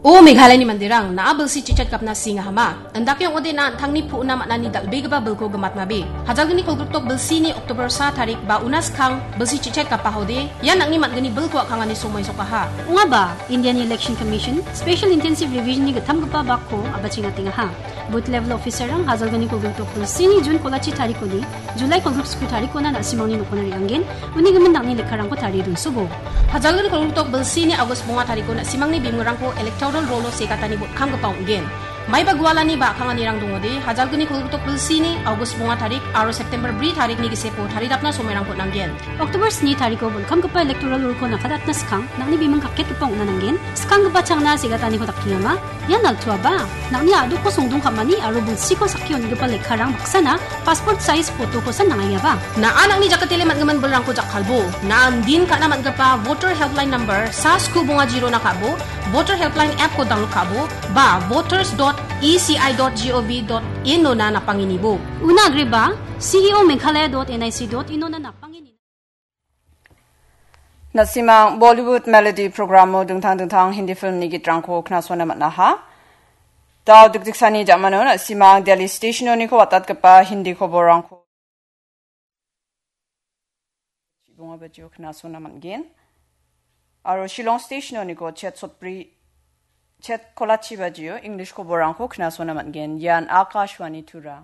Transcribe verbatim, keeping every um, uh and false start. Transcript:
O Meghalayani manderang, na·a bilsi chichet gapna singahama. Indake ong·ode na an·tangni pu·na man·ani dal·begipa bilko gimatnabe. Hajalgni kolgrikdok bilsini October sa tarik ba una skang bilsi chichet gapahode, ian nang·ni man·gni bilko a·kangani somoi sokaha. Ong·aba, Indiani Election Commission Special Intensive Revisionni gittamgipa bakko a·bachengatengaha. Booth level officer-rang hajalgni kolgrikdok bilsini June kolachi tarikoni July kolgrikdok sku tarikona na·simangni nokona re·angen, uni gimin nang·ni lekkarangko tarie donsobo. Hajalgni kolgrikdok bilsini August bonga tariko na·simangni bimingrangko electoral rolo segatani botkamgipa ong·gen. Maiba gualani ba a·kanganirang dongode, hajalgni kolgrikdok bilsini August bonga tarik aro September bri tarikni giseko taridapna somoirangko nanggen. Oktober sni tariko botkamgipa electoral roll-ko nakadatna skang, nang·ni biming kaketgipa ong·na nanggen. Skanggipa changna segataniko dakengama. Ian altuaba, nang·ni a·dokko songdong ka·mani aro bilsiko sakki on·gipa lekkarang baksana passport size photo-kosan nang·aiaba. Na·a nang·ni jakatele man·gimin bilrangko jakkalbo. Na·a indin ka·na man·gipa voter helpline number sa sku bonga jirona ka·bo, voter helpline app-ko download ka·bo, ba voters dot E C I dot G O V dot in-ona napangenibo. Una agreba, C E O Meghalaya dot N I C dot in-ona napangeni. Na·simang Bollywood Melody programo dingtang dingtang Hindi filmni gitrangko knasona man·aha. Dao dikdiksani jamano na·simang Delhi stationoniko watatgipa Hindi koborrangko chibonga bajio knasona man·gen. Aro Shillong stationoniko chet sotbri, chet kolachi bajio English koborrangko knasona man·gen. Ian Akashvani Tura.